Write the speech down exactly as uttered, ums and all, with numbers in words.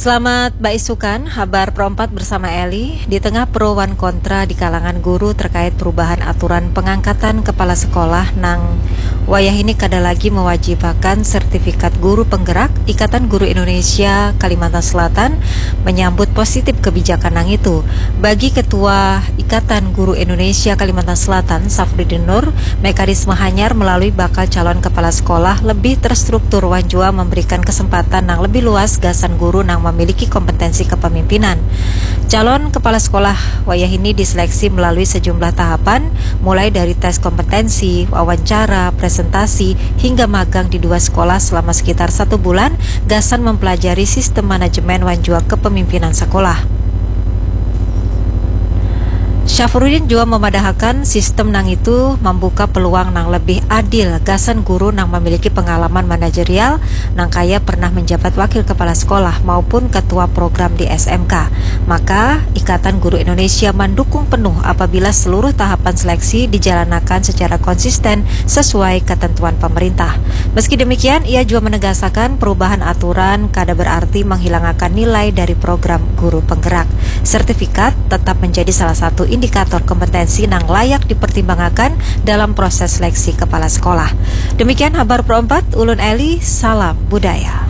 Selamat baisukan, habar perompat bersama Eli. Di tengah pro wan kontra di kalangan guru terkait perubahan aturan pengangkatan kepala sekolah nang wayah ini kada lagi mewajibakan sertifikat guru penggerak, Ikatan Guru Indonesia Kalimantan Selatan menyambut positif kebijakan nang itu. Bagi Ketua Ikatan Guru Indonesia Kalimantan Selatan, Safrudin Nur, mekanisme hanyar melalui bakal calon kepala sekolah lebih terstruktur wan jua memberikan kesempatan nang lebih luas gasan guru nang memiliki kompetensi kepemimpinan. Calon kepala sekolah wayah ini diseleksi melalui sejumlah tahapan, mulai dari tes kompetensi, wawancara, presentasi, hingga magang di dua sekolah selama sekitar satu bulan, gasan mempelajari sistem manajemen wan jua kepemimpinan sekolah. Syafrudin jua memadahakan sistem nang itu membuka peluang nang lebih adil gasan guru nang memiliki pengalaman manajerial nang kaya pernah menjabat wakil kepala sekolah maupun ketua program di S M K. Maka, Ikatan Guru Indonesia mendukung penuh apabila seluruh tahapan seleksi dijalanakan secara konsisten sesuai ketentuan pemerintah. Meski demikian, ia jua menegasakan perubahan aturan kada berarti menghilangakan nilai dari program guru penggerak. Sertifikat tetap menjadi salah satu indikator kompetensi nang layak dipertimbangakan dalam proses seleksi kepala sekolah. Demikian habar perompat, ulun Eli, salam budaya.